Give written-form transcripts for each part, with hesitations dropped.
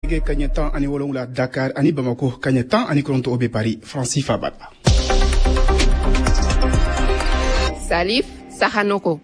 Nɛgɛ kaɲɛ 17 Dakar ani Bamako, kaɲɛ 19 o bɛ Paris, Faransi faaba la. Salif Sahanoko.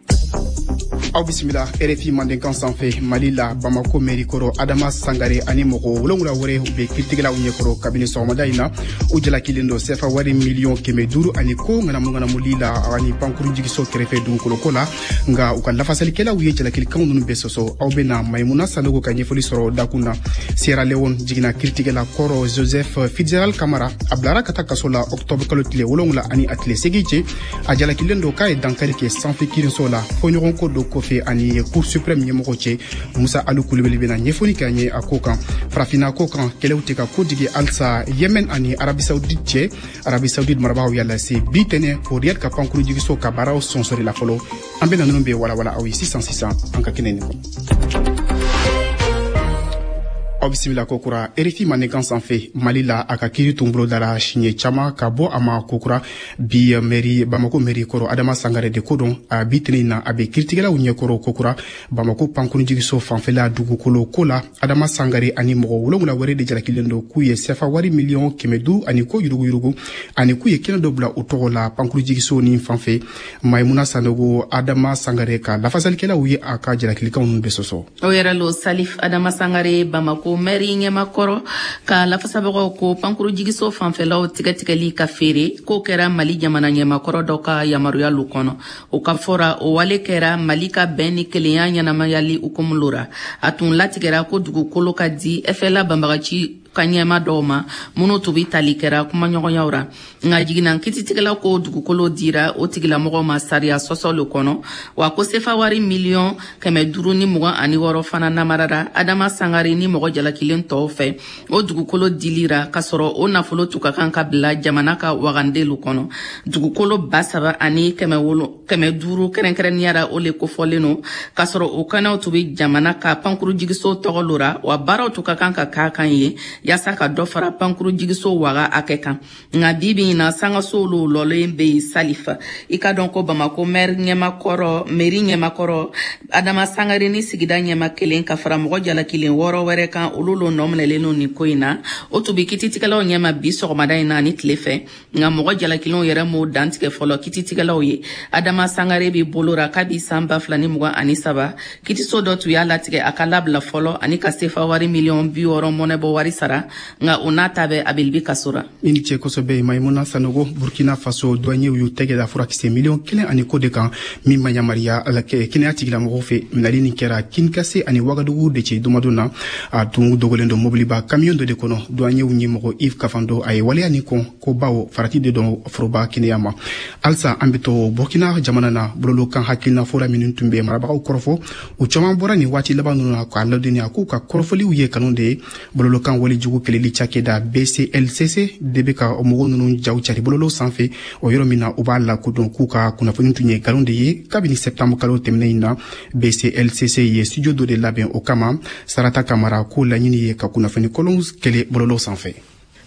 Aw bisimila RFI Mandenkan sanfɛ. Mali la, Bamako mɛri kɔrɔ Adama Sangare ani mɔgɔ 7 wɛrɛ u bɛ kiiritigɛlaw ɲɛkɔrɔ kabini sɔgɔmada in na. U jalakilen don sɛfa wari miliyɔn 500 ani ko ŋanamu-ŋanamuli la ani pankurun jigiso kɛrɛfɛ dugukoloko la. Nka u ka lafasalikɛlaw ye jalakilikanw ninnu bɛɛ sɔsɔ. Aw bɛna Maimuna Sanogo ka ɲɛfɔli sɔrɔ dakun na. Sierra Leone jiginna kiiritigɛla kɔrɔ Joseph Fitzgerald Kamara, a bilara ka taa kaso la octobre kalo tile 7 ani a tile 8 cɛ. A jalakilen don k'a ye dankari kɛ sanfɛ kiiriso la, fɔɲɔgɔnko dɔ kɔfɛ ani Cour suprême ɲɛmɔgɔ cɛ. Musa Alu Kulubali bɛna ɲɛfɔli kɛ an ye a ko kan. Farafinna ko kan, kɛlɛw tɛ ka kodigi halisa Yemen ani Arabie Saoudite cɛ. Arabie Saoudite marabagaw y'a lase bi tɛnɛ ko Riyad ka pankurun jigiso ka baaraw sonsori la fɔlɔ. An bɛna ninnu bɛɛ walawala aw ye sisan sisan an ka kɛnɛ nin kɔnɔ. Aw bisimila kokura RFI Mandenkan sanfɛ. Mali la, a ka kiiri tun bolodara siɲɛ caman ka bɔ a ma kokura bi. Mɛri, Bamako mɛri kɔrɔ Adama Sangare de ko don. A bi tɛnɛ na, a bɛ kiiritigɛlaw ɲɛkɔrɔ kokura Bamako pankurunjigiso fanfɛla dugukolo ko la. Adama Sangare ani mɔgɔ 7 wɛrɛ de jalakilen don k'u ye sɛfa wari miliyɔn 500 ani ko yuruguyurugu ani k'u ye kɛnɛ dɔ bila u tɔgɔ la pankurunjigiso ni fanfɛ. Maimuna Sanogo, Adama Sangare ka lafasalikɛlaw ye a ka jalakilikanw ninnu bɛɛ sɔsɔ. O yɛrɛ lo, Salif. Adama Sangare, Bamako mɛri ɲɛmakɔrɔ ka lafasabagaw ko pankurujigiso fanfɛlaw tigɛtigɛli ka feere k'o kɛra Mali jamana ɲɛmakɔrɔ dɔ ka yamaruya lu kɔnɔ. O ka fɔra, o wale kɛra Mali ka bɛn ni kelenya ɲɛnamayali hukumu lo ra. A tun latigɛra ko dugukolo ka di FLA banbagaci ka ɲɛma dɔw ma minnu tun bi tali kɛra kumaɲɔgɔnyaw ra. Nka jiginna kititigɛlaw ko dugukolo dira o tigilamɔgɔw ma sariya sɔsɔ le kɔnɔ, wa ko sefa wari miliyɔn 526 fana namarara Adama Sangare ni mɔgɔ jalakilen tɔw fɛ o dugukolo dilira, k'a sɔrɔ o nafolo tun ka kan ka bila jamana ka wagandelu kɔnɔ. Dugukolo 3500 kɛrɛnkɛrɛnnenya ra, o le kofɔlen no, k'a sɔrɔ o kɛnɛw tun be jamana ka pankurujigiso tɔgɔ lo ra, wa baaraw tun ka kan ka k'a kan ye yaasa ka dɔ fara pankurujigiso waga hakɛ kan. Nka bi bi in na, sangasow lo lɔlen be yen. Salifa, i ka dɔn ko Bamako maire ɲɛmakɔrɔ, mairie ɲɛmakɔrɔ Adama Sangare ni sigida ɲɛma kelen ka fara mɔgɔ jalakilen 6 wɛrɛ kan, olu lo nɔ minɛlen no nin ko in na. O tun bi kititigɛlaw ɲɛma bi sɔgɔmada in na ani tile fɛ, nka mɔgɔ jalakilenw yɛrɛ m'o dantigɛ fɔlɔ kititigɛlaw ye. Adama Sangare bi bolo ra kabi san 2023. Kitiso dɔ tun y'a latigɛ a ka labila fɔlɔ ani ka sefa wari miliyɔn 60 mɔnɛbɔ wari sara, nka o n'a ta bɛɛ, a bɛ kaso ra. I ni ce kosɛbɛ, Maimuna Sanogo. Burkina Faso, douaniers y'u tɛgɛ da furakisɛ miliyɔn 1 ani ko de kan min ma yamaruya kɛnɛya tigilamɔgɔw fɛ. Minɛli nin kɛra Kinkase ani Wagadugu de cɛ dumadon na. A tun dogolen don mobiliba camion dɔ de kɔnɔ. Douaniers ɲɛmɔgɔ Yves Kafando, a ye waleya nin kɔn ko bawo farati de don foroba kɛnɛya ma. Halisa an bɛ to Burkina jamana na. Bololokan hakilina fɔra minnu tun bɛ marabagaw kɔrɔfɔ, u caman bɔra nin waati laban ninnu na k'a ladɔnniya k'u ka kɔrɔfɔliw ye kanu de ye. Bololokan walejugu kɛlɛli cakɛda BCLCC de bɛ ka mɔgɔ ninnu jaw cari bololo sanfɛ, o yɔrɔ min na u b'a lakodɔn k'u ka kunnafoni tun ye nkalon de ye. Kabini septembre kalo tɛmɛnen in na, BCLCC ye studio dɔ de labɛn o kama. Sarata Kamara k'o laɲini ye ka kunnafoni kolonw kɛlɛ bololo sanfɛ.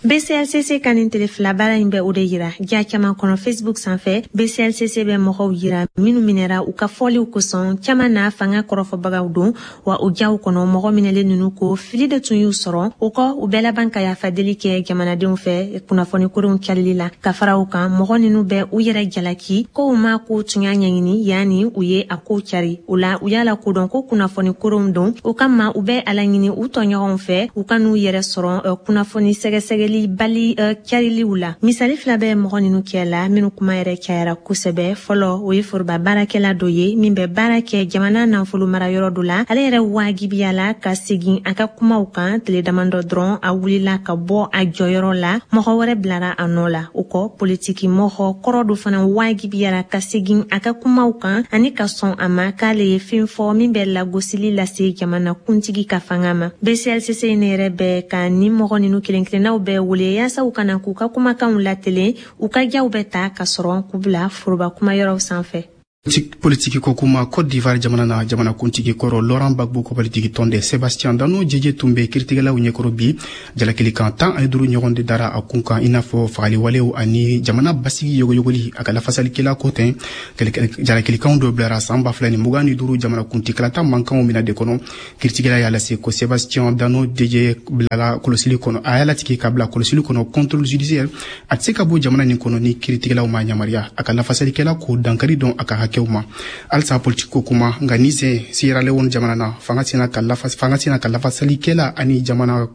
BCLCC ka nin tele fila baara in bɛ o de yira. Ja caman kɔnɔ Facebook sanfɛ, BCLCC bɛ mɔgɔw yira minnu minɛra u ka fɔliw kosɔn. Caman na fanga kɔrɔfɔbagaw don, wa o jaw kɔnɔ, mɔgɔ minɛlen ninnu ko fili de tun y'u sɔrɔ. O kɔ, u bɛɛ laban ka yafa deli kɛ jamanadenw fɛ kunnafoni koronw calili la. Ka fara o kan, mɔgɔ ninnu bɛ u yɛrɛ jalaki ko u ma ko tun y'a ɲɛɲini yanni u ye a ko cari. O la, u y'a lakodɔn ko kunnafoni koronw don. O kama, u bɛ a laɲini u tɔɲɔgɔnw fɛ u ka n'u yɛrɛ sɔrɔ kunnafoni sɛgɛsɛgɛli bali cariliw la. Misali fila bɛ mɔgɔ ninnu kɛ la minnu kuma yɛrɛ cayara kosɛbɛ. Fɔlɔ, o ye foroba baarakɛla dɔ ye min bɛ baara kɛ jamana nafolo mara yɔrɔ dɔ la. Ale yɛrɛ wajibiyala ka segin a ka kumaw kan. Tile damadɔ dɔrɔn, a wulila ka bɔ a jɔyɔrɔ la, mɔgɔ wɛrɛ bilara a nɔ la. O kɔ, politiki mɔgɔ kɔrɔ dɔ fana wajibiyara ka segin a ka kumaw kan ani ka sɔn a ma k'ale ye fɛn fɔ min bɛ lagosili lase jamana kuntigi ka fanga ma. BCLCC ne yɛrɛ bɛ ka ni mɔgɔ ninnu kelen kelennaw bɛɛ wele yaasa u kana k'u ka kumakanw latelen. U ka jaw bɛ ta ka sɔrɔ k'u bila foroba kumayɔrɔw sanfɛ. Politiki ko kuma, Cote d'Ivoire jamana na, jamanakuntigi kɔrɔ Laurent Gbagbo ka politiki tɔnden Sébastien Dano Djedje tun bɛ kiritigɛlaw ɲɛkɔrɔ bi. Jalakilikan 15 ɲɔgɔn de dara a kun kan, i n'a fɔ fagaliwalew ani jamana basigi yogoyogoli. A ka lafasalikɛla ko ten, jalakilikanw dɔ bilara san 2025 jamanakuntikalata mankanw mina de kɔnɔ. Kiritigɛla y'a lase ko Sébastien Dano Djedje bilala kɔlɔsili kɔnɔ, a y'a latigɛ ka bila kɔlɔsili kɔnɔ, contrôle judiciaire. A tɛ se ka bɔ jamana nin kɔnɔ ni kiritigɛlaw ma yamaruya. A ka lafasalikɛla ko dankari dɔn a ka hakɛw ma. Halisa politiki ko kuma, nka ni sen Sierra Leone jamana na, fanga sina ka lafasalikɛla ani jamana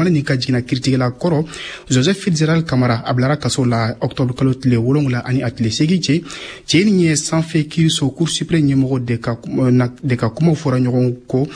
nin ka jiginna kiritigɛla kɔrɔ Joseph Fitzgerald Kamara, a bilara kaso la octobre kalo tile 7 ani a tile 8 cɛ. Cɛ nin ye sanfɛ kiiriso, Cour suprême ɲɛmɔgɔ de ka kumaw fɔra ɲɔgɔn kɔ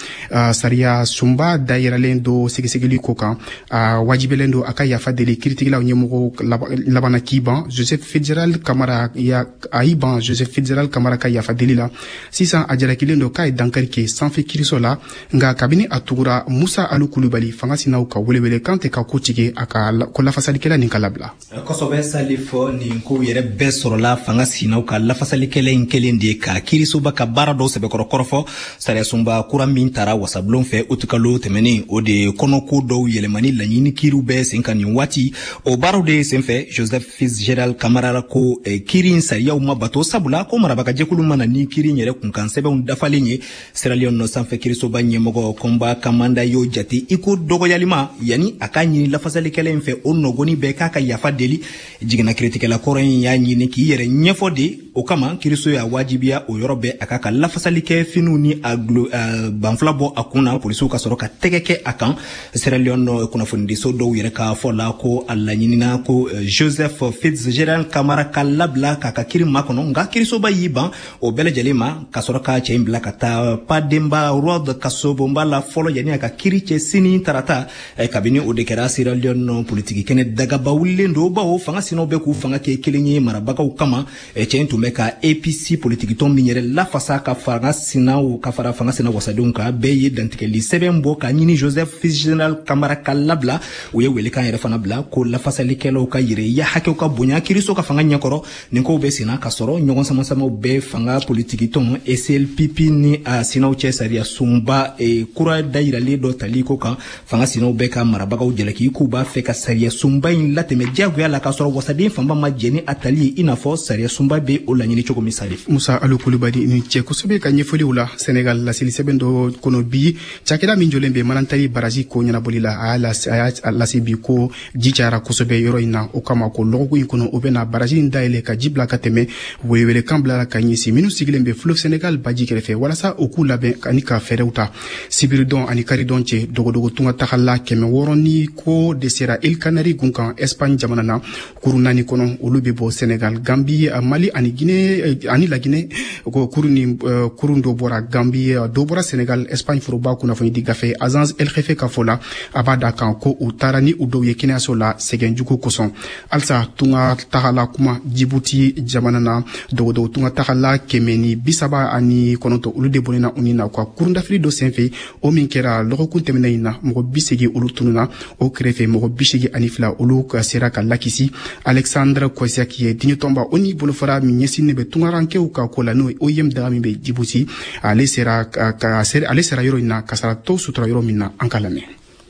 sariya sunba dayɛrɛlen do sɛgɛsɛgɛli ko kan. A wajibɛlen do a ka yafa deli kiritigɛlaw ɲɛmɔgɔ labanna k'i ban Joseph Fitzgerald Kamara ya, a y'i ban Joseph Fitzgerald Kamara ka yafa deli la. Sisan a jalakilen do k'a ye dankari kɛ sanfɛ kiiriso la. Nka kabini a tugura Musa Alu Kulubali, fanga sinaw ka welewele kan tɛ ka ko tigɛ a ka ko lafasalikɛla nin ka labila. Kosɛbɛ, Salif. Nin kow yɛrɛ bɛɛ sɔrɔla fanga sinaw ka lafasalikɛla in kelen de ka kiirisoba ka baara dɔw sɛbɛkɔrɔ kɔrɔfɔ. Sariyasunba kura min tara wasabulon fɛ utukalo tɛmɛnen, o de kɔnɔko dɔw yɛlɛmani laɲini kiiriw bɛɛ sen kan nin waati. O baaraw de senfɛ, Joseph Fitzgerald Kamara ko kiiri in sariyaw ma bato, sabula ko marabagajɛkulu mana ni kiiri in yɛrɛ kunkan sɛbɛnw dafalen ye. Sierra Leone nɔ sanfɛ kiirisoba ɲɛmɔgɔ Kɔnba Kamanda y'o jate i ko dɔgɔyalima, yanni a k'a ɲini lafasalikɛla in fɛ o nɔgɔni bɛɛ k'a ka yafa deli. Jiginna kiritigɛla kɔrɔ in y'a ɲini k'i yɛrɛ ɲɛfɔ de. O kama kiiriso y'a wajibiya o yɔrɔ bɛɛ a k'a ka lafasali kɛ finiw ni a gulo banfula bɔ a kun na, polisiw ka sɔrɔ ka tɛgɛ kɛ a kan. Sierra Leone kunnafonidiso dɔw yɛrɛ ka fɔ la ko a laɲinina ko Joseph Fitzgerald Kamara ka labila k'a ka kiri makɔnɔ, nka kiirisoba y'i ban o bɛɛ lajɛlen ma, ka sɔrɔ ka cɛ in bila ka taa Pademba Road kasobonba la fɔlɔ, yanni a ka kiri cɛ sini tarata. Kabini o de kɛra, Sierra Leone politiki kɛnɛ dagaba wulilen don, bawo fanga sinaw bɛ k'u fanga kɛ kelen ye marabagaw kama. Cɛ in tun bɛ ka APC politikitɔn min yɛrɛ lafasa ka fanga sinaw ka fara fanga sina wasadenw kan, bɛɛ ye dantigɛli sɛbɛn bɔ ka ɲini Joseph Fitzgerald Kamara ka labila. U ye welekan yɛrɛ fana bila ko lafasalikɛlaw ka yɛrɛya hakɛw ka bonya kiiriso ka fanga ɲɛkɔrɔ. Nin kow bɛ senna ka sɔrɔ ɲɔgɔn samasamaw bɛɛ fanga politikitɔn SLPP ni a sinaw cɛ sariya sunba kura dayiralen dɔ tali ko kan. Fanga sinaw bɛɛ ka marabagaw jalaki k'u b'a fɛ ka sariya sunba in latɛmɛ diyagoya la, k'a sɔrɔ wasaden fanba ma jɛ ni a tali ye, i n'a fɔ sariya sunba bɛ o laɲini cogo min, Salif. Musa Alu Kulubali, ni cɛ kosɛbɛ ka ɲɛfɔliw la. Senegal, laseli sɛbɛn dɔ kɔnɔ bi, cakɛda min jɔlen bɛ Manantali baraji ko ɲɛnabɔli la, a y'a lase bi ko ji cayara kosɛbɛ yɔrɔ in na. O kama ko lɔgɔkun in kɔnɔ, o bɛna baraji in dayɛlɛ ka ji bila ka tɛmɛ. Welewelekan bilara ka ɲɛsin minnu sigilen bɛ fleuve Senegal baji kɛrɛfɛ, walasa u k'u labɛn ani ka fɛɛrɛw ta. Sibiridɔn ani karidɔn cɛ, dogodogo tunga tagala 600 ni ko de sera Îles Canaries gun kan, Espagne jamana na, kurun naani kɔnɔ. Olu bɛ bɔ Senegal, Gambi, Mali ani Guinée ani Laginɛ. Ko kurun ni kurun dɔ bɔra Gambi, dɔ bɔra Senegal. Espagne foroba kunnafoni di gafe Agence El Jefe ka fɔ la, a b'a da kan ko u taara ni u dɔw ye kɛnɛyaso la sɛgɛn jugu kosɔn. Halisa tunga tagala kuma, Jibuti jamana na, dogodogo tunga tagala 139, olu de bɔnna u ni na u ka kurundafili dɔ senfɛ, o min kɛra lɔgɔkun tɛmɛnen in na. Mɔgɔ 80 olu tununa o kɛrɛfɛ, mɔgɔ 82 olu ka sera ka lakisi. Alexandre Kosiak ye diɲɛtɔnba ONU bolofara min ɲɛsinnen bɛ tungarankew ka ko la, n'o ye OIM daga min bɛ Jibuti, ale sera yɔrɔ in na kasaratɔ sutura yɔrɔ min na. An ka lamɛn.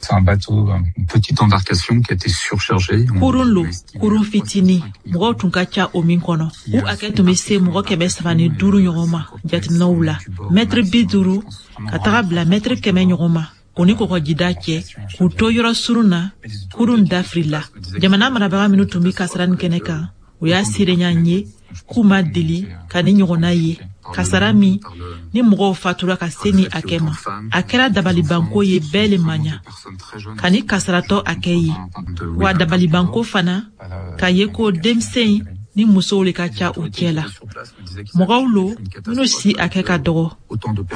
C'est un bateau, une petite embarcation qui a été surchargée. Kurun lo, kurun fitini, mɔgɔw tun ka ca o min kɔnɔ. U hakɛ tun bɛ se mɔgɔ 305 ɲɔgɔn ma jateminɛw la. Mɛtiri 50 ka taga bila mɛtiri 100 ɲɔgɔn ma o ni kɔgɔjida cɛ, k'u to yɔrɔ surun na, kurun dafirila. Jamana marabaga minnu tun bɛ kasara nin kɛnɛ kan, o y'a seereya n ye k'u ma deli ka ni ɲɔgɔnna ye, kasara min ni mɔgɔw fatura ka se ni hakɛ ma. A kɛra dabalibanko ye, bɛɛ le ma ɲa ka ni kasaratɔ hakɛ ye, wa dabalibanko fana k'a ye ko denmisɛn ni musow le ka ca u cɛ la. Mɔgɔw lo minnu si hakɛ ka dɔgɔ,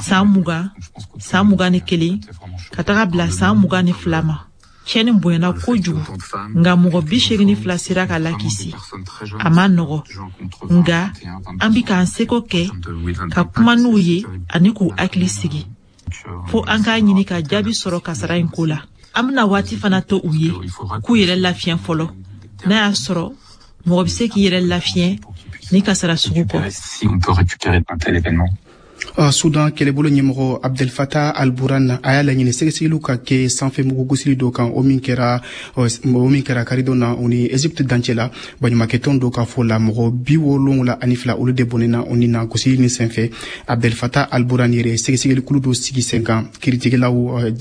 san 20, san 21 ka taga bila san 22 ma. Tiɲɛni bonyana kojugu, nka mɔgɔ 82 sera ka lakisi. A ma nɔgɔ, nka an bi k'an seko kɛ ka kuma n'u ye ani k'u hakili sigi, fo an k'a ɲini ka jaabi sɔrɔ kasara in ko la. An bena waati fana to u ye k'u yɛrɛ lafiɲɛ fɔlɔ, n'a y'a sɔrɔ mɔgɔ be se k'i yɛrɛ lafiɲɛ. ni kasara sugu kɔ. Si on peut récupérer d'un tel événement. Sudan kɛlɛbolo ɲɛmɔgɔ Abdel Fattah al-Burhan a y'a laɲini sɛgɛsɛgɛliw ka kɛ sanfɛ mugugosili dɔ kan, o min kɛra karidon na o ni Egypte dancɛ la. Baɲumankɛtɔn dɔ ka fɔ la, mɔgɔ 72, olu de bɔnɛna o ni na gosili ni senfɛ. Abdel Fattah al-Burhan yɛrɛ sɛgɛsɛgɛlikulu dɔ sigi sen kan, kiiritigɛlaw,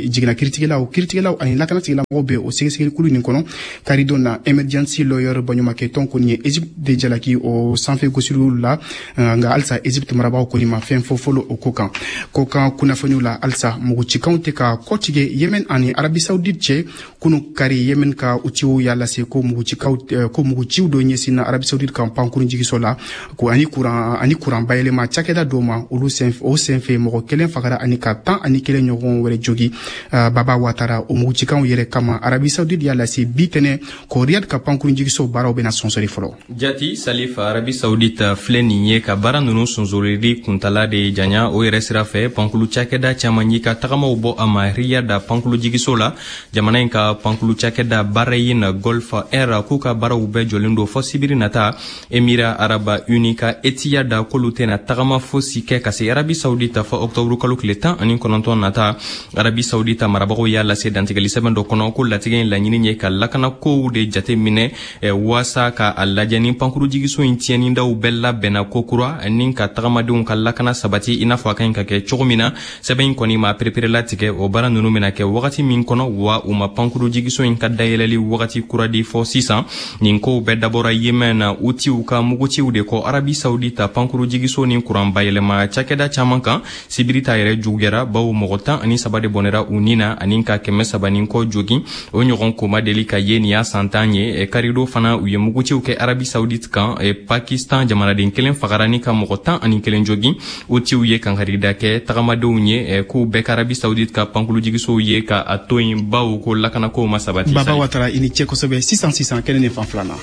jiginna kiiritigɛlaw ani lakanatigilamɔgɔw bɛ o sɛgɛsɛgɛlikulu nin kɔnɔ. Karidon na, Emergency Lawyer baɲumankɛtɔn kɔni ye Egypte de jalaki o sanfɛ gosiliw la, nka halisa Egypte marabagaw kɔni ma fɛn fɔ fɔlɔ o ko kan. Ko kan kunnafoniw la, halisa mugucikanw tɛ ka kɔtigɛ Yemen ani Arabi Saoudite cɛ. Kunu kari, Yemen ka Houthiw y'a lase ko mugucikaw, ko muguciw dɔ ɲɛsinna Arabi Saoudite kan pankurun jigiso la ko ani kuran bayɛlɛma cakɛda dɔw ma. Olu sen o senfɛ, mɔgɔ kelen fagara ani ka 11 ɲɔgɔn wɛrɛ jogi. Baba Watara, o mugucikanw yɛrɛ kama, Arabi Saoudite y'a lase bi tɛnɛ ko Riyad ka pankurun jigiso baaraw bɛna sɔnsɔri fɔlɔ. Jati Salif, Arabi Saoudite filɛ nin ye ka baara nunu sonsorili kuntala de janya. O yɛrɛ sira fɛ, pankulu cakɛda caaman y'i ka tagamaw bɔ a ma Riyada pankulu jigiso la. Jamana in ka pankulu cakɛda Bahrain Gulf Air k'u ka baaraw bɛɛ jɔlen don fɔ sibiri nata. Emira Araba Uni ka Etihad k'olu tɛna tagama fosi kɛ ka se Arabi Saoudite fɔ ɔktɔburu kalo tile 19 nata. Arabi Saoudite marabagaw y'a lase dantigɛli sɛbɛn dɔ kɔnɔ ko latigɛ in laɲini ye ka lakanakow de jate minɛ, waasa ka a lajɛ ni pankuru jigiso in tiɲɛnidaw bɛɛ labɛnna kokura ni ka tagamadenw ka lakana sabati i n'a fɔ a ka ɲi ka kɛ cogo min na. Sɛbɛn in kɔni ma pereperelatigɛ o baara nunu bɛna kɛ wagati min kɔnɔ, wa u ma pankuru jigiso in ka dayɛlɛli wagati kura di fɔ sisan. Nin kow bɛɛ dabɔra Yemen na Houthiw ka muguciw de kɔ Arabi Saoudite pankuru jigiso ni kuran bayɛlɛma cakɛda caaman kan. Sibiri ta yɛrɛ juguyara, bawo mɔgɔ 13 de bɔnɛra u ni na ani ka 300 ni kɔ jogin. O ɲɔgɔn ko ma deli ka ye nin y'a san 10 ye. Karido fana, u ye muguciw kɛ Arabi Saoudite kan. Pakistan jamanaden kelen fagara ni ka mɔgɔ 11 jogin. Houthiw ye kankarida kɛ tagamadenw ye k'u bɛɛ ka Arabi Saoudite ka pankulujigisow ye ka a to yen, bawo ko lakanakow ma sabati. Baba Watara, i ni cɛ kosɛbɛ. Sisan sisan, kɛnɛ nin fan filanan,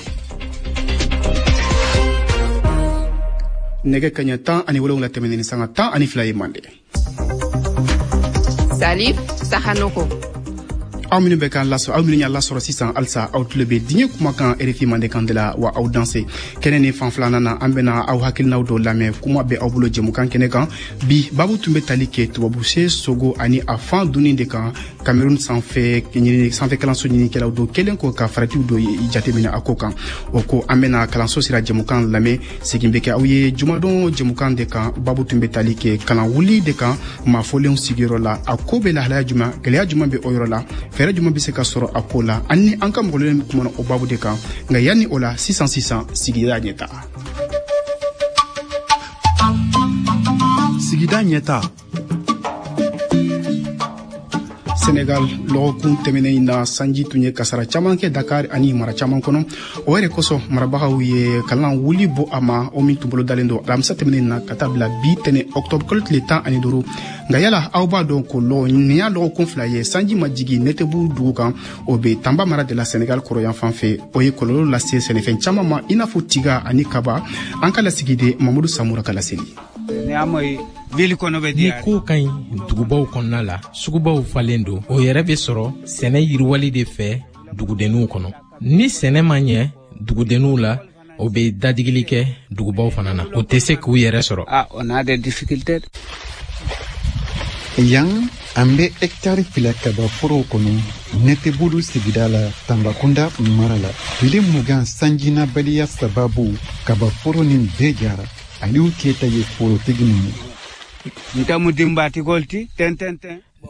nɛgɛ kaɲɛ 17 tɛmɛnen ni sanga 12 ye mande. Salif Sahanoko. Aw minnu bɛ k'an lasɔrɔ, aw minnu y'a lasɔrɔ sisan, halisa aw tulo bɛ diɲɛ kumakan RFI Mandenkan de la, wa aw danse. Kɛnɛ ni fan filanan na, an bɛna aw hakilinaw dɔw lamɛn. Kuma bɛ aw bolo jɛmukan kɛnɛ kan. Bi babu tun bɛ tali kɛ tubabuse sogo ani a fan dunni de kan. Cameroun sanfɛ ɲini sanfɛ kalanso ɲinikɛlaw dɔ kelen kɔ ka faratiw dɔ jateminɛ a ko kan. O ko, an bɛna kalanso sira jɛmukan lamɛn. Segin bɛ kɛ aw ye jumadon jɛmukan de kan. Babu tun bɛ tali kɛ kalan wuli de kan maafɔlenw sigiyɔrɔ la. A ko bɛ lahalaya jumɛn? Gɛlɛya jumɛn bɛ o yɔrɔ la? Fɛɛrɛ jumɛn bɛ se ka sɔrɔ a ko la? An ni an ka mɔgɔlen kumana o babu de kan. Nka yanni o la, sisan sisan, sigida ɲɛta. Sigida ɲɛta. Senegal, lɔgɔkun tɛmɛnen in na, sanji tun ye kasara caman kɛ Dakar ani mara caman kɔnɔ. O yɛrɛ kosɔn, marabagaw ye kalan wuli bɔ a ma, o min tun bolo dalen don alamisa tɛmɛnen na ka taa bila bi tɛnɛ ɔktɔbr kalo tile 15. Nka yala aw b'a dɔn ko lɔgɔ nin y'a lɔgɔkun 2 ye sanji ma jigi Nɛtɛbu dugu kan, o bɛ Tanba mara de la, Senegal kɔrɔyan fan fɛ? O ye kɔlɔlɔ lase sɛnɛfɛn caman ma, i n'a fɔ tiga ani kaba. An ka lasigiden Mamadu Samura ka laseli. Ni kow ka ɲi dugubaw kɔnɔna la, sugubaw falen don. O yɛrɛ bɛ sɔrɔ sɛnɛ yiriwali de fɛ dugudenninw kɔnɔ. Ni sɛnɛ ma ɲɛ dugudenninw la, o bɛ dadigili kɛ dugubaw fana na, o tɛ se k'u yɛrɛ sɔrɔ. Yan, an bɛ hɛkitari 2 kabaforow kɔnɔ Nɛtɛbulu sigida la, Tanbakunda mara la. Tile 20 sanjinabaliya sababu, kabaforo nin bɛɛ jara. Aliyu Keyita ye forotigi nin ye.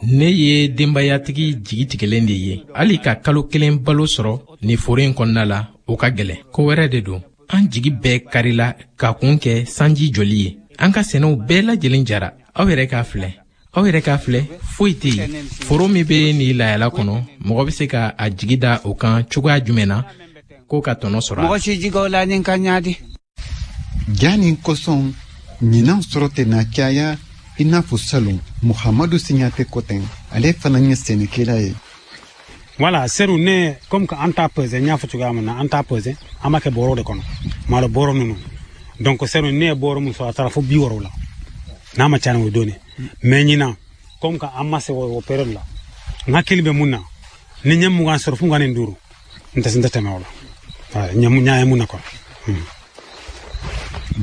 Ne ye denbayatigi jigi tigɛlen de ye. Hali ka kalo kelen balo sɔrɔ nin foro in kɔnɔna la, o ka gɛlɛn. Ko wɛrɛ de don, an jigi bɛɛ karila ka kun kɛ sanji jɔli ye. An ka sɛnɛw bɛɛ lajɛlen jara. Aw yɛrɛ k'a filɛ, aw yɛrɛ k'a filɛ, foyi tɛ yen. Foro min bɛ nin layala kɔnɔ, mɔgɔ bɛ se ka a jigi da o kan cogoya jumɛn na ko ka tɔnɔ sɔrɔ? Mɔgɔ si jigaw la ni ka ɲa. Ja nin kosɔn, ɲinan sɔrɔ tɛna caya i n'a fɔ salon. Muhamadu Siɲate ko ten, ale fana ye sɛnɛkɛla ye. Voilà, seru ne comme que an t'a pesé, n y'a fɔ cogoya min na, an t'a pesé, an b'a kɛ bɔrɔ de kɔnɔ, malo bɔrɔ ninnu. Donc seru ne ye bɔrɔ min sɔrɔ, a taara fo 60 la, n'a ma ca ni o donni. Mais ɲinan, comme que an ma se o période la, n hakili bɛ mun na, ni n ye 20 sɔrɔ fo 25, n tɛ tɛmɛ o la. Ɲa ye mun na quoi.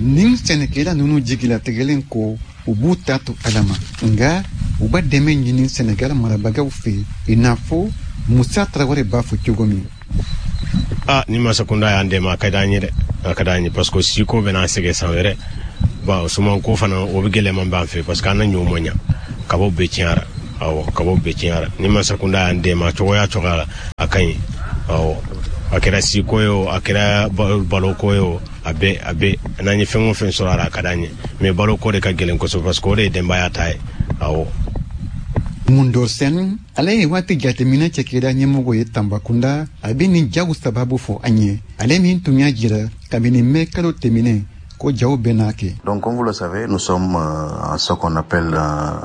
Nin sɛnɛkɛla ninnu jigilatigɛlen ko u b'u ta to Ala ma, nka u b'a dɛmɛ ɲini Senegal marabagaw fɛ, i n'a fɔ Musa Tarawele b'a fɔ cogo min. A ni masakunda y'an dɛmɛ, a ka d'an ye dɛ, a ka d'an ye, parce que siko bɛna sɛgɛn san wɛrɛ. Bon, sumanko fana, o bɛ gɛlɛman b'an fɛ, parce que an na ɲɔ ma ɲa, kabaw bɛɛ tiɲɛra. Awɔ, kabaw bɛɛ tiɲɛra. Ni masakunda y'an dɛmɛ cogoya cogoya la, a ka ɲi. Awɔ, a kɛra siko ye o, a kɛra baloko ye o, a bɛɛ a bɛɛ, n'an ye fɛn o fɛn sɔrɔ a la, a ka d'an ye. Mais baloko de ka gɛlɛn kosɛbɛ, parce que o de ye denbaya ta ye. Awɔ. Mundor Sen, ale ye waati jateminɛ cɛkɛda ɲɛmɔgɔ ye Tanbakunda. A bɛ nin jaw sababu fɔ an ye, ale min tun y'a jira kabini mɛ kalo tɛmɛnen ko jaw bɛna kɛ. Donc, comme vous le savez, nous sommes en ce qu'on appelle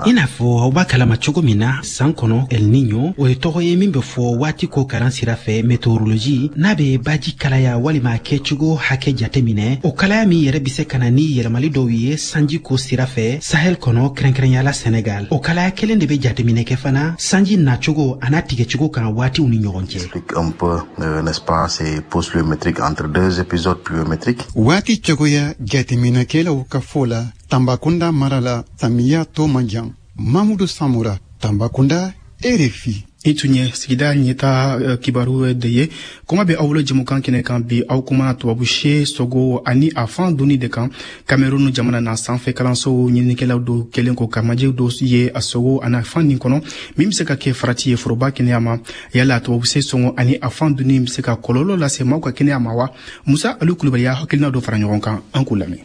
I n'a fɔ aw b'a kalama cogo min na, san kɔnɔ, El Niño, o ye tɔgɔ ye min bɛ fɔ waati ko karan sira fɛ, météorologie, n'a bɛ baji kalaya walima kɛcogo hakɛ jate minɛ. O kalaya min yɛrɛ bɛ se ka na ni yɛlɛmali dɔw ye sanji ko sira fɛ Sahel kɔnɔ, kɛrɛnkɛrɛnya la Senegal. O kalaya kelen de bɛ jateminɛ kɛ fana sanji nacogo a n'a tigɛcogo kan waatiw ni ɲɔgɔn cɛ. Explique un peu, n'est-ce pas, ces pauses pluviométriques entre deux épisodes pluviométriques. Waati cogoya jateminɛkɛlaw ka fɔ la, Tanbakunda mara la, samiya tɔ man jan. Mamudu Samura, Tanbakunda, RFI. I tun ye sigida ɲɛta kibaru de ye. Kuma bɛ aw bolo jɛmukan kɛnɛ kan bi, aw kumana tubabu se sogo ani a fan dunni de kan Cameroun jamana na. Sanfɛ kalansow ɲininikɛlaw dɔw kɛlen ko ka majɛ dɔ ye a sogo ani a fan nin kɔnɔ, min bɛ se ka kɛ farati ye foroba kɛnɛya ma. Yala tubabu se sɔngɔ ani a fan dunni bɛ se ka kɔlɔlɔ lase maaw ka kɛnɛya ma wa? Musa Alu Kulubali y'a hakilina dɔ fara ɲɔgɔn kan, an k'u lamɛn.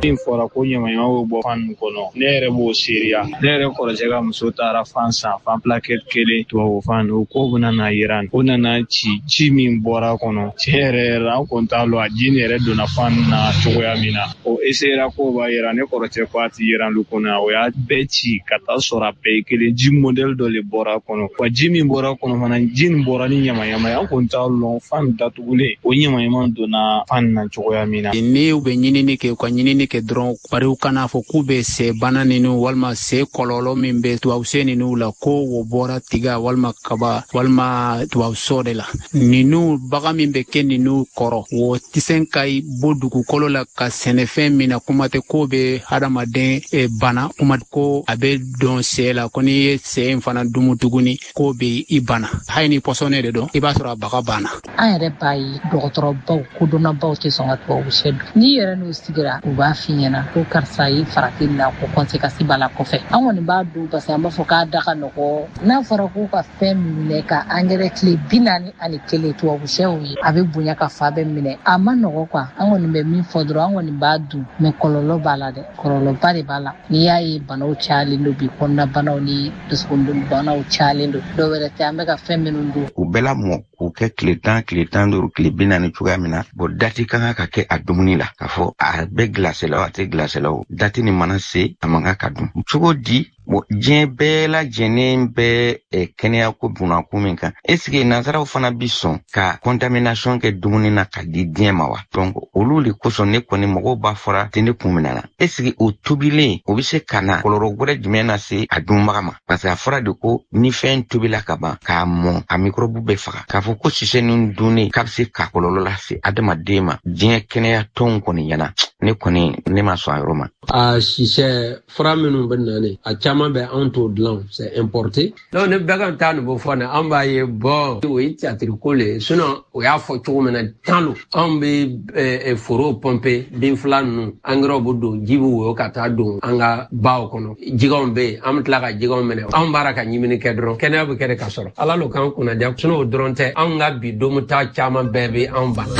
Min fɔra ko ɲamaɲama bɛ bɔ fan nin kɔnɔ, ne yɛrɛ b'o seereya. Ne yɛrɛ kɔrɔcɛ ka muso taara fan san, fan plaquette kelen, tubabu fan. O ko bɛna na yira, o nana ci, ji min bɔra kɔnɔ, tiɲɛ yɛrɛ yɛrɛ la, an kɔni t'a lɔn a ji nin yɛrɛ donna fan na cogoya min na. O eseyera k'o b'a yira, ne kɔrɔcɛ ko a ti yiran lu kɔnɔ. O y'a bɛɛ ci ka taa sɔrɔ a bɛɛ ye kelen, ji modèle dɔ le bɔra kɔnɔ wa. Ji min bɔra kɔnɔ fana, ji nin bɔra ni ɲamaɲama ye. An kɔni t'a lɔn fan datugulen, o ɲamaɲama donna fan na cogoya min na. Ni u bɛ ɲinini kɛ, u ka ɲinini kɛ dɔrɔn, bari u kana fɔ k'u bɛ sɛ bana ninu walima sɛ kɔlɔlɔ min bɛ tubabu sɛ ninu la, ko o bɔra tiga walima kaba walima tubabu sɔ de la. Ninu baga min bɛ kɛ ninu kɔrɔ, o tɛ se ka bɔ dugukolo la ka sɛnɛfɛn min na. Kuma tɛ k'o bɛ hadamaden bana, kuma ko a bɛ dɔn sɛ la, ko n'i ye sɛ in fana dumu tuguni, k'o bɛ i bana. Hali ni pɔsɔnɛ de don, i b'a sɔrɔ a baga banna. An yɛrɛ b'a ye, dɔgɔtɔrɔbaw, kodɔnnabaw tɛ sɔn ka tubabu sɛ dun. N'i yɛrɛ n'u sigira, u b'a f'i ɲɛna ko karisa ye farati na, ko conséquence b'a la kɔfɛ. An kɔni b'a dun parce que an b'a fɔ k'a da ka nɔgɔ. N'a fɔra k'u ka fɛn minɛ ka angɛrɛ tile 41 tubabu sɛw ye, a bɛ bonya ka fa bɛɛ minɛ, a ma nɔgɔ quoi. An kɔni bɛ min fɔ dɔrɔn, an kɔni b'a dun, mais kɔlɔlɔ b'a la dɛ, kɔlɔlɔba de b'a la. N'i y'a ye banaw cayalen don bi, kɔnɔna banaw ni dusukun banaw cayalen don, dɔw wɛrɛ tɛ, an bɛ ka fɛn minnu dun. U bɛɛ la mɔ k'u kɛ tile 10, tile 15, tile 40 cogoya min na. Bon, date ka kan ka kɛ a dumuni la, k'a fɔ a bɛ glacé la o, a tɛ glacé la o, date nin mana se, a man kan ka dun. Cogo di? Bon, diɲɛ bɛɛ lajɛlen bɛ kɛnɛya ko bunakun min kan, est ce que nanzaraw fana bi sɔn ka contamination kɛ dumuni na ka di diɲɛ ma wa? Donc olu le kosɔn, ne kɔni, mɔgɔw b'a fɔra ten, ne kun minɛ na, est ce que o tobilen, o bɛ se ka na kɔlɔlɔ wɛrɛ jumɛn lase a dunbaga ma? Parce que a fɔra de ko ni fɛn tobila ka ban k'a mɔn, a microbe bɛ faga. K'a fɔ ko sisɛ nin dunnen k'a bɛ se ka kɔlɔlɔ lase adamaden ma, diɲɛ kɛnɛya tɔnw kɔni ɲɛna, ne kɔni, ne ma sɔn a yɔrɔ ma. A sisɛ fura minnu bɛ na, ne a caman bɛ, anw t'o dilan, c'est importé. Donc ni bɛɛ kan taa nin bɔ fɔ nin, an b'a ye, bɔn, o ye théâtre ko le ye. Sinon o y'a fɔ cogo min na tan lo, anw bɛ foro pɔnpe, bin fila ninnu, engrais bɛ don, ji bɛ woyo ka taa don an ka baw kɔnɔ, jigɛnw bɛ yen, an bɛ tila ka jigɛnw minɛ. Anw b'ara ka ɲimini kɛ dɔrɔn, kɛnɛya bɛ kɛ de ka sɔrɔ Ala lo k'an kunnadiya. Sinon o dɔrɔn tɛ, anw ka bi domuta caman bɛɛ bɛ anw bana.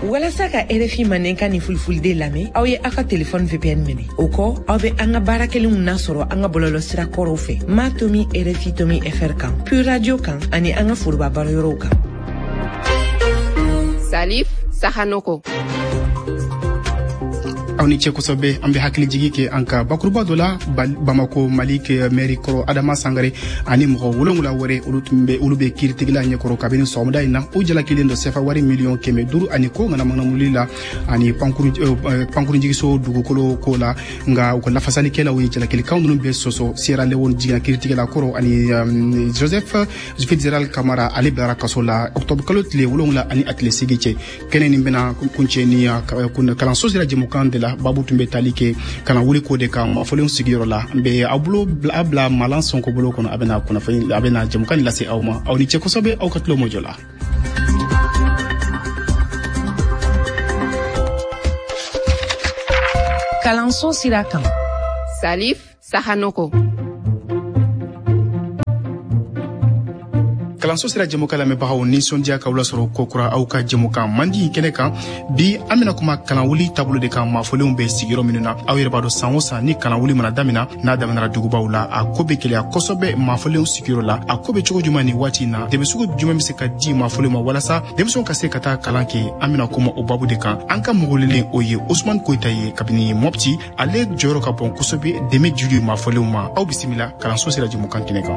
Walasa ka RFI Mandenkan ni Fulfulde lamɛn, aw ye aw ka telefɔni VPN minɛ. O kɔ, aw bɛ an ka baara kelenw nasɔrɔ an ka bɔlɔlɔ sira kɔrɔw fɛ, ma tomi RFI tomi fr kan, Pure Radio kan, ani an ka foroba baroyɔrɔw kan. Salif Sahanoko. Aw ni ce kosɛbɛ. An bɛ hakilijigi kɛ an ka bakuruba dɔ la, Bamako Mali mɛri kɔrɔ Adama Sangare ani mɔgɔ 7 wɛrɛ, olu tun bɛ, olu bɛ kiiritigɛla ɲɛkɔrɔ kabini sɔgɔmada in na. U jalakilen don sefa wari miliyɔn 500 ani ko ŋanamuŋanamuli la ani pankurunjigiso dugukolo ko la. Nka u ka lafasalikɛlaw ye jalakilikanw ninnu bɛɛ sɔsɔ. Sierra Leone jiginna kiiritigɛla kɔrɔ ani Joseph Fitzgerald Kamara, ale bilara kaso la octobre kalo tile 7 ani a tile 8 cɛ. Kɛnɛ nin bɛna kuncɛ ni kalanso sira jɛmukan de la. Babu tun bɛ tali kɛ kalan wuli ko de kan maafɔlenw sigiyɔrɔ la. N bɛ aw bolo a bila Malan Sɔnko bolo kɔnɔ, a bɛna kunnafoni, a bɛna jɛmukan lase aw ma. Aw ni ce kosɛbɛ aw ka tulo mɔjɔ la. Kalanso sira kan. Salif Sahanoko. Kalanso sira jɛmukan lamɛnbagaw, nisɔndiya k'aw lasɔrɔ kokura aw ka jɛmukan mandi kɛnɛ kan. Bi, an bɛna kuma kalanwuli taabolo de kan maafɔlenw bɛ sigiyɔrɔ minnu na. Aw yɛrɛ b'a dɔn, san o san ni kalanwuli mana damina, n'a daminɛra dugubaw la, a ko bɛ gɛlɛya kosɛbɛ maafɔlenw sigiyɔrɔ la. A ko bɛ cogo jumɛn nin waati in na? Dɛmɛ sugu jumɛn bɛ se ka di maafɔlenw ma walasa denmisɛnw ka se ka taa kalan kɛ? An bɛna kuma o babu de kan. An ka mɔgɔwelelen, o ye Usman Koyita ye kabini Mɔpti. Ale jɔyɔrɔ ka bon kosɛbɛ dɛmɛ jili maafɔlenw ma. Aw bisimila kalanso sira jɛmukan kɛnɛ kan.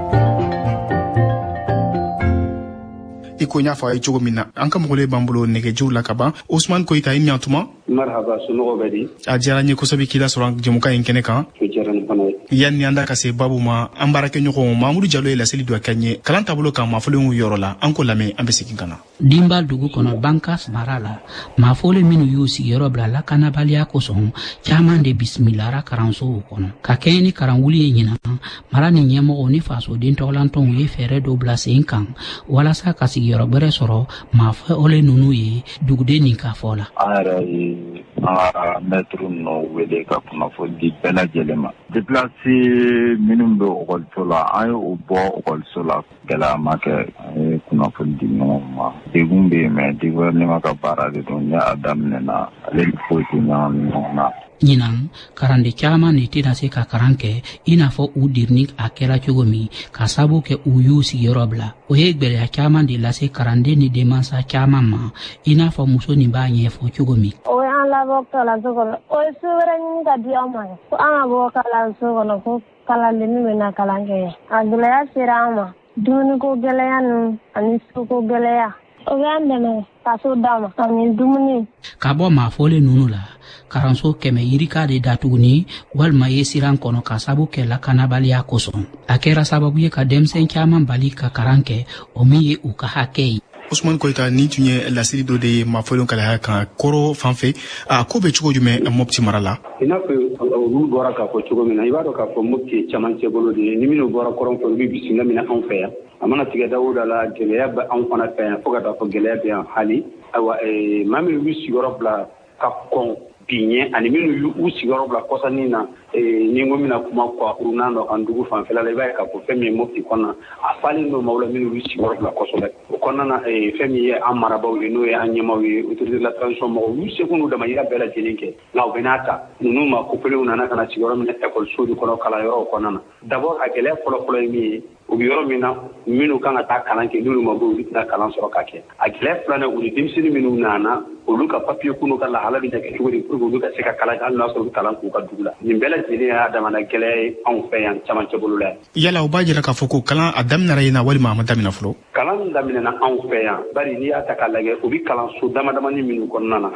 I ko n y'a fɔ a ye cogo min na, an ka mɔgɔlen b'an bolo nɛgɛjuru la ka ban. Osman Koyita, i ɲantuma. Marhaba, somɔgɔw bɛ di? A diyara n ye kosɛbɛ k'i lasɔrɔ jɛmukan in kɛnɛ kan. O diyara n fana ye. Yanni an da ka se babu ma, an baarakɛɲɔgɔn Mamudu Jalo ye laseli dɔ kɛ n ye kalan taabolo kan maafɔlenw yɔrɔ la. An ko lamɛn, an bɛ segin ka na. Dinba dugu kɔnɔ, Bankas mara la, maafɔlen minnu y'u sigiyɔrɔ bila lakanabaliya kosɔn, caaman de bisimilara karansow kɔnɔ ka kɛɲɛ ni karanwuli ye. Ɲinan, mara ni ɲɛmɔgɔw ni fasoden tɔgɔlantɔnw ye fɛɛrɛ dɔ bila sen kan walasa ka sigiyɔrɔ gwɛrɛ sɔrɔ maafɔlen ninnu ye, duguden nin ka fɔ la. An yɛrɛ ye an ka mɛtiri ninnu wele ka kunnafoni di bɛɛ lajɛlen ma. Déplacé minnu bɛ ekɔliso la, an ye o bɔ ekɔliso la. Gɛlɛya ma kɛ, an ye kunnafoni di ɲɔgɔn ma. Degun bɛ yen, mais gouvernement ka baara de don. Ni a daminɛna, ale ni foyi tɛ ɲagami ɲɔgɔn na. Ɲinan, karanden caaman de tɛna se ka karan kɛ i n'a fɔ u dirini a kɛra cogo min, ka sabu kɛ u y'u sigiyɔrɔ bila. O ye gwɛlɛya caaman de lase karanden ni denmansa caaman ma, i n'a fɔ muso nin b'a ɲɛfɔ cogo min. O y'an labɔ kalanso kɔnɔ, o ye so wɛrɛ ɲini ka di anw ma ko an ka bɔ kalanso kɔnɔ, ko kalandennin bɛna kalan kɛ. A gɛlɛya sera an ma, dumuniko gɛlɛya ninnu ani soko gɛlɛya. O b'an dɛmɛ ka so d'a ma ani dumuni. Ka bɔ maafɔlen ninnu la, karanso 100 yirika de datuguni walima ye siran kɔnɔ ka sabu kɛ lakanabaliya kosɔn. A kɛra sababu ye ka denmisɛn caaman bali ka karan kɛ, o min ye u ka hakɛ ye. Usman Koyita, nin tun ye laseli dɔ de ye maafɔlenw kalaya kan kɔrɔ fan fɛ. A ko bɛ cogo jumɛn Mopti mara la? I n'a fɔ olu bɔra k'a fɔ cogo min na, i b'a dɔn k'a fɔ Mopti ye camancɛ bolo de ye. Ni minnu bɔra kɔrɔn fɛ, olu bɛ bisimila minɛ anw fɛ yan. A mana tigɛ da o da la, gɛlɛya bɛ anw fana fɛ yan, fo ka taa fɔ gɛlɛya bɛ yan hali. Ayiwa, maa minnu y'u sigiyɔrɔ bila ka kɔn bi ɲɛ ani minnu y'u sigiyɔrɔ bila kɔsannin na, ni n ko bɛna kuma kurunan dɔ kan dugu fanfɛla la, i b'a ye k'a fɔ fɛn min ye Mopti kɔnɔna, a falen don maaw la minnu y'u sigiyɔrɔ bila kosɛbɛ. O kɔnɔna na, fɛn min ye an marabaaw ye, n'o ye an ɲɛmaaw ye, autorité de la transition mɔgɔw y'u seko n'u damayira bɛɛ lajɛlen kɛ. Nka u bɛ n'a ta ninnu ma kopelenw nana ka na sigiyɔrɔ minɛ ekɔliso de kɔnɔ, kalanyɔrɔw kɔnɔna na. D'abord, a gɛlɛya fɔlɔfɔlɔ ye min ye, u bɛ yɔrɔ min na, minnu kan ka taa kalan kɛ, n'olu ma bɔ, olu tɛna kalan sɔrɔ ka kɛ. A gɛlɛya filanan, u ni denmisɛnnin minnu nana, olu ka papiye kunu ka lahala bɛ kɛ cogo di pour que olu ka se ka kalan kɛ, hali n'a sɔrɔ u bɛ kalan k'u ka dugu la. Nin bɛɛ lajɛlen y'a damana gɛlɛya ye anw fɛ yan camancɛ bolo la yan. Yala o b'a jira k'a fɔ ko kalan a daminɛra yen na walima a ma daminɛ fɔlɔ? Kalan daminɛna anw fɛ yan, bari n'i y'a ta k'a lajɛ, u bɛ kalanso dama damani minnu kɔnɔna na,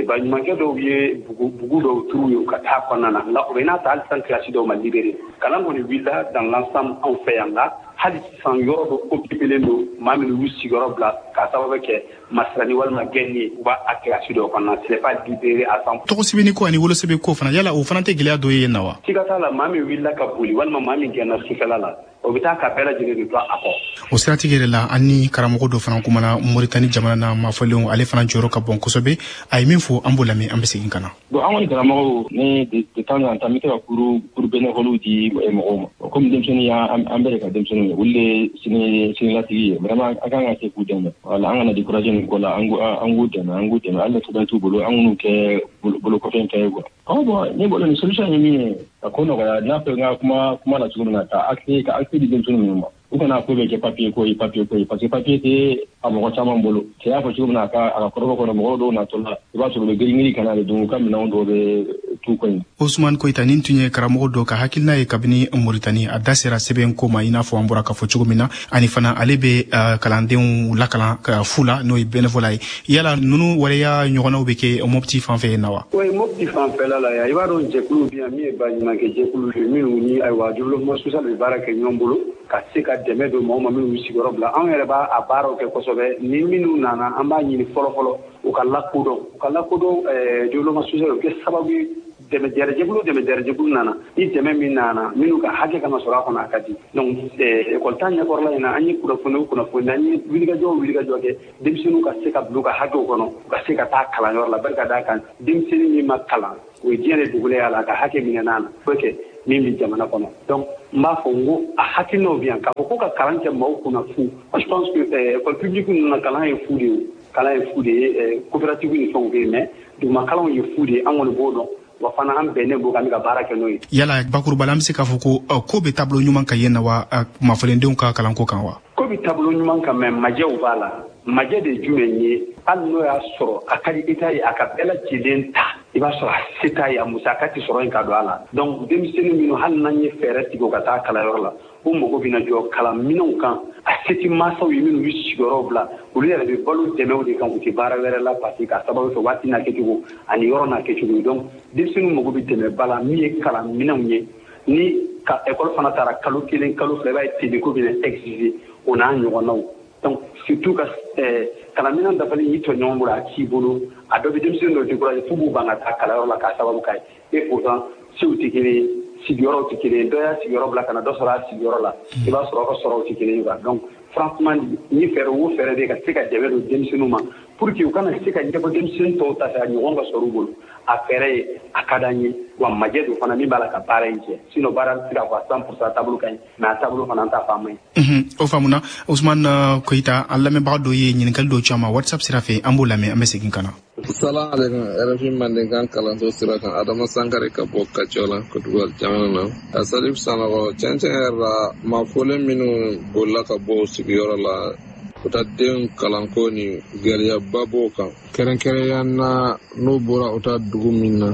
baɲumankɛ dɔw ye bugu dɔw turu ye u ka taa kɔnɔna na, nka o bɛ n'a ta hali sisan kilasi dɔw ma libéré. Kalan kɔni wulila dans l'ensemble anw fɛ yan, nka hali sisan yɔrɔ dɔ occupélen don maa minnu y'u sigiyɔrɔ bila k'a sababu kɛ masirani walima gɛnni ye, u b'a a kilasi dɔw kɔnɔna, ce n'est pas libéré à 100. Tɔgɔ sɛbɛnni ko ani wolosɛbɛn ko fana, yala o fana tɛ gɛlɛya dɔ ye yen na wa? Siga t'a la, maa min wulila ka boli walima maa min gɛnna sufɛla la, o bɛ taa ka bɛɛ lajɛlen de to a kɔ. O siratigɛ yɛrɛ la, an ni karamɔgɔ dɔ fana kumana Moritani jamana na maafɔlenw, ale fana jɔyɔrɔ ka bon kosɛbɛ. A ye min fɔ, an b'o lamɛn, an bɛ segin ka na. Bon, an kɔni karamɔgɔw ni de temps en temps, n bɛ to ka cours bénévole di mɔgɔw ma. Komi denmisɛnnin y'an, an bɛɛ de ka denmisɛnninw ye, olu de ye sinilasigi ye. Vraiment, an kan ka se k'u dɛmɛ. Voilà, an kana décourager nin ko la, an k'u dɛmɛ, an k'u dɛmɛ. Hali ni sɛbɛn t'u bolo, an k'u kɛ bolokɔfɛ fɛn ye quoi. Ɔ bon, ne bolo nin solution ye min ye ka ko nɔgɔya, n'a fɔ n ka kuma la cogo min na, ka accès di denmisɛnnin ninnu ma. U kana ko bɛ kɛ papier ko ye, papier ko ye, parce que papier tɛ a mɔgɔ caman bolo. Cɛ y'a fɔ cogo min na, a ka kɔrɔbɔ kɔnɔ, mɔgɔw dɔw natɔ la, i b'a sɔrɔ u bɛ girin-girin ka na de, donc u ka minɛnw dɔw bɛ t'u kɔ yen. Ousmane Koyita, nin tun ye karamɔgɔ dɔ ka hakilina ye kabini Moritani. A da sera sɛbɛn ko ma, i n'a fɔ an bɔra k'a fɔ cogo min na, ani fana ale bɛ kalandenw lakalan fu la, n'o ye bénévolat ye. Yala ninnu waleya ɲɔgɔnnaw bɛ kɛ Mopti fan fɛ yen na wa? Oui, Mopti fanfɛla la yan, i b'a dɔn jɛkulu bɛ yan min ye baɲumankɛ jɛkulu ye, minnu ni ayiwa développement social bɛ baara kɛ ɲɔgɔn bolo ka se ka dɛmɛ don maaw ma minnu b'u sigiyɔrɔ bila. Anw yɛrɛ b'a a baaraw kɛ kosɛbɛ. Ni minnu nana, an b'a ɲini fɔlɔ-fɔlɔ u ka lakodɔn, u ka lakodɔn développement social. O bɛ kɛ sababu ye dɛmɛ jɛrɛjɛkulu nana ni dɛmɛ min nana, minnu ka hakɛ kana sɔrɔ a kɔnɔ, a ka di. Donc école ta ɲɛkɔrɔla in na, an ye kunnafoni, an ye wulikajɔ kɛ denmisɛnninw ka se ka bila u ka hakɛw kɔnɔ, u ka se ka taa kalanyɔrɔ la. Barika d'a kan, denmisɛnnin min ma kalan, o ye diɲɛ de dugulen y'a la, a ka hakɛ minɛ n'a na foyi kɛ min bɛ jamana kɔnɔ. Donc n b'a fɔ n ko a hakilinaw bɛ yan k'a fɔ ko ka kalan kɛ maaw kunna fu. Moi, je pense que école publique ninnu na, kalan ye fu de ye, kalan ye fu de ye. Coopérative ni fɛnw bɛ yen, mais duguma kalanw ye fu de ye. An kɔni b'o dɔn, wa fana an bɛnnen b'o kan, an bɛ ka baara kɛ n'o ye. Yala bakuruba la, an bɛ se k'a fɔ ko bɛ taabolo ɲuman kan yen na wa, mafalendenw ka kalanko kan wa? Ko bɛ taabolo ɲuman kan, mais majɛw b'a la. Majɛ de ye jumɛn ye? Hali n'o y'a sɔrɔ a ka di État ye a ka bɛɛ lajɛlen ta, i b'a sɔrɔ a se t'a ye, a musaka tɛ sɔrɔ yen ka don a la. Donc denmisɛnnin minnu, hali n'an ye fɛɛrɛ tigɛ u ka taa kalanyɔrɔ la, u mago bɛna jɔ kalanminɛnw kan. A se tɛ mansaw ye minnu bɛ sigiyɔrɔ bila, olu yɛrɛ bɛ balo dɛmɛw de kan, u tɛ baara wɛrɛ la, parce que k'a sababu kɛ waati n'a kɛcogo ani yɔrɔ n'a kɛcogo ye. Donc denmisɛnninw mago bɛ dɛmɛba la min ye kalanminɛnw ye. Ni ka école fana taara kalo 1, kalo 2, i b'a ye tenue ko bɛna exiger, o n'a ɲɔgɔnnaw. Donc surtout ka kalanminɛn dafalen y'i tɔɲɔgɔn bolo, a t'i bolo, a dɔ bɛ denmisɛnnin dɔw décourager f'u b'u ban ka taa kalanyɔrɔ la k'a sababu k'a ye. Et pourtant sew tɛ kelen ye, sigiyɔrɔw tɛ kelen ye. Dɔ y'a sigiyɔrɔ bila ka na dɔ sɔrɔ a sigiyɔrɔ la, i b'a sɔrɔ aw ka sɔrɔw tɛ kelen ye quoi. Donc franchement, ni fɛɛrɛ o fɛɛrɛ bɛ ka se ka dɛmɛ don denmisɛnninw ma pour que u kana se ka ɲɛbɔ denmisɛnnin tɔw ta fɛ, a ɲɔgɔn ka sɔrɔ u bolo, a fɛɛrɛ ye, a ka d'an ye. Wa majɛ don fana min b'a la ka baara in kɛ, sinon baara tɛ se k'a fɔ a 100% taabolo ka ɲi, mais a taabolo fana an t'a fɔ a man ɲi. O faamuna. Ousmane Koyita, an lamɛnbaga dɔ ye ɲininkali dɔ ci an ma WhatsApp sira fɛ, an b'o lamɛn, an bɛ segin ka na. Salam alaikum, RFI Mandenkan kalanso sira kan, Adama Sankare ka bɔ Kaciola, Côte d'Ivoire jamana na. A Salif Sanogo, tiɲɛ yɛrɛ la, maa fɔlen minnu bolila ka bɔ u sigiyɔrɔ la, u ta denw kalanko ni gɛlɛyaba b'o kan. Kɛrɛnkɛrɛnya na, n'u bɔra u ta dugu min na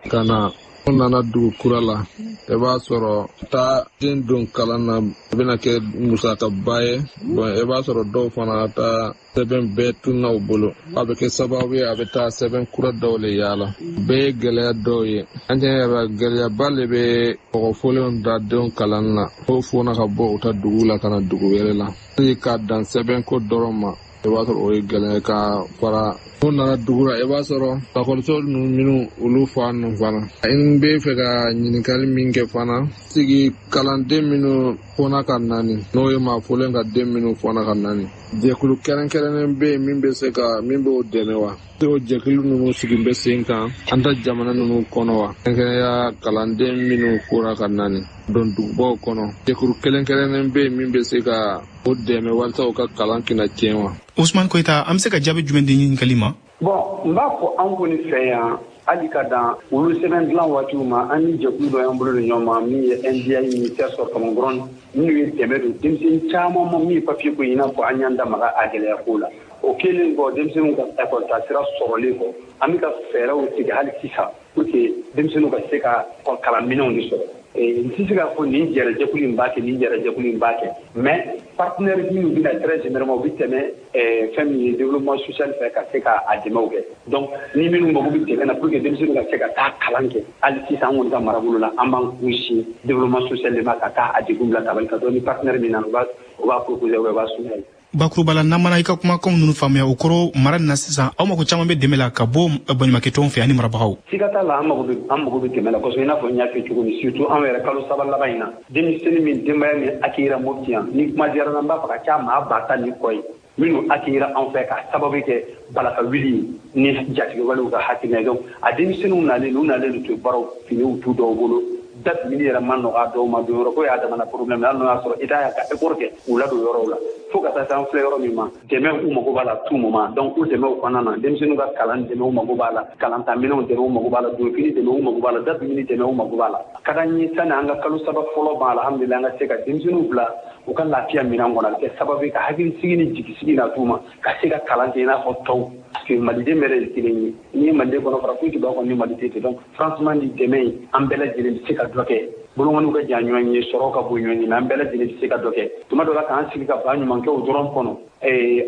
ka na, n'u nana dugu kura la, i b'a sɔrɔ taa den don kalan na, o bɛna kɛ musakaba ye. Bon, i b'a sɔrɔ dɔw fana ta sɛbɛn bɛɛ tunna u bolo, a bɛ kɛ sababu ye a bɛ taa sɛbɛn kura dɔw le yaala. Bɛɛ ye gɛlɛya dɔw ye. An tiɲɛ yɛrɛ la, gɛlɛyaba le bɛ mɔgɔ fɔlenw da denw kalan na, n'o fɔna ka bɔ u ta dugu la ka na dugu wɛrɛ la. Hali k'a dan sɛbɛnko dɔrɔn ma, i b'a sɔrɔ o ye gɛlɛya ka fara. N'u nana dugu la, i b'a sɔrɔ lakɔliso ninnu minnu olu fa ninnu fana. N bɛ fɛ ka ɲininkali min kɛ fana, sigi kalanden minnu fɔna ka nani, n'o ye maa fɔlen ka den minnu fɔna ka nani, jɛkulu kɛrɛnkɛrɛnnen bɛ yen min bɛ se ka min b'o dɛmɛ wa? O jɛkulu ninnu sigi bɛ sen kan an ta jamana ninnu kɔnɔ wa? Kɛrɛnkɛrɛnya kalanden minnu fɔra ka nani don dugubaw kɔnɔ, jɛkulu kɛrɛnkɛrɛnnen bɛ yen min bɛ se ka o dɛmɛ walasa u ka kalan kana tiɲɛ wa? Ousmane Koyita, an bɛ se ka jaabi jumɛn di ɲininkali ma? Bon, n b'a fɔ an kɔni fɛ yan, hali ka dan olu sɛbɛn dilan waatiw ma, an ni jɛkulu dɔ y'an bolo don ɲɔgɔn ma min ye NDI, ministère sɔrɔ Kamakɔrɔ, minnu ye dɛmɛ don denmisɛnnin caman ma min ye papier ko, i n'a fɔ an y'an da maga a gɛlɛya ko la. O kɛlen kɔ, denmisɛnninw ka école ta sira sɔrɔlen kɔ, an bɛ ka fɛɛrɛw tigɛ hali sisan pour que denmisɛnninw ka se ka kalanminɛnw de sɔrɔ. N tɛ se k'a fɔ nin jɛrɛjɛkulu in b'a kɛ, nin jɛrɛjɛkulu in b'a kɛ, mais partenaire minnu bɛna très généralement, u bɛ tɛmɛ fɛn min ye développement social fɛ ka se k'a dɛmɛw kɛ. Donc ni minnu mago bɛ dɛmɛ na pour que denmisɛnninw ka se ka taa kalan kɛ, hali sisan an kɔni ka marabolo la, an b'an kun développement social de ma ka taa a degun bila tabali kan. Donc ni partenaire min nana, u b'a proposer, u b'a soumettre. Bakuruba la, n'an mana i ka kumakanw ninnu faamuya, o kɔrɔ mara nin na sisan, aw mako caman bɛ dɛmɛ la ka bɔ baɲumankɛtɔnw fɛ ani marabagaw. Siga t'a la, an mago bɛ dɛmɛ la kosɛbɛ, i n'a fɔ n y'a fɔ cogo min, surtout anw yɛrɛ kalo 3 laban in na, denmisɛnnin min denbaya min accueillir Mopti yan, ni kuma diyara n na, n b'a fɔ ka ca maa 10,000 ni kɔ ye minnu accueillir anw fɛ k'a sababu kɛ balaka wuli ni jatigɛwalew ka hakilina ye. Donc a denmisɛnninw nalen, u nalen to baaraw finiw t'u dɔw bolo, da dumuni yɛrɛ ma nɔgɔ a dɔw ma, don yɔrɔ ko y'a damana problème, hali n'o y'a sɔrɔ État y'a ka effort kɛ k'u ladon yɔrɔw la. Fo ka taa se an filɛ yɔrɔ min ma, dɛmɛ u mago b'a la tout moment. Donc u dɛmɛw kɔnɔna na, denmisɛnninw ka kalan dɛmɛ u mago b'a la, kalantaminɛnw dɛmɛ u mago b'a la, donfini dɛmɛ u mago b'a la, dadumuni dɛmɛ u mago b'a la. Ka d'an ye, sani an ka kalo 3 fɔlɔ ban, alhamdulilayi, an ka se ka denmisɛnninw bila u ka lafiya minɛn kɔnɔ. A bɛ kɛ sababu ye ka hakilisigi ni jigisigi na t'u ma ka se ka kalan kɛ i n'a fɔ tɔw, parce que maliden bɛɛ de ye kelen ye. N'i ye maliden kɔnɔ fara, foyi tɛ bɔ a kɔnɔ ni maliden tɛ. Donc franchement, ni dɛmɛ ye, an bɛɛ lajɛlen bɛ se ka dɔ kɛ. Bolokɔniw ka jan ɲɔgɔn ye, sɔrɔ ka bon ɲɔgɔn ye, mais an bɛɛ lajɛlen bɛ se ka dɔ kɛ. Tuma dɔ la, k'an sigi ka ba ɲumankɛw dɔrɔn kɔnɔ,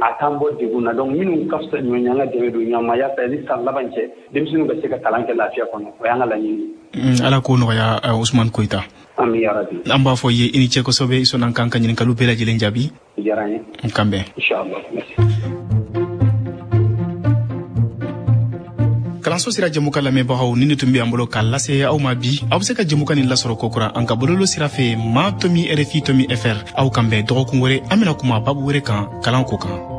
a t'an bɔ degun na. Donc minnu ka fisa ɲɔgɔn ye, an ka dɛmɛ don ɲɔgɔn ma yaasa ni san laban cɛ, denmisɛnninw ka se ka kalan kɛ lafiya kɔnɔ. O y'an ka laɲini ye. Ala k'o nɔgɔya, Usumani Koyita. Ami yarabi. An b'a fɔ i ye i ni ce kosɛbɛ, i sɔnna k'an ka ɲininkaliw bɛɛ lajɛlen jaabi. Diyara n ye. N kan bɛn. Inchallah, merci. Kalanso sira jɛmukan lamɛnbagaw, ni ne tun bɛ an bolo k'a lase aw ma bi. Aw bɛ se ka jɛmukan nin lasɔrɔ kokura an ka bololo sira fɛ, ma tomi rfi tomi fr. Aw kan bɛn dɔgɔkun wɛrɛ, an bɛna kuma babu wɛrɛ kan kalanko kan.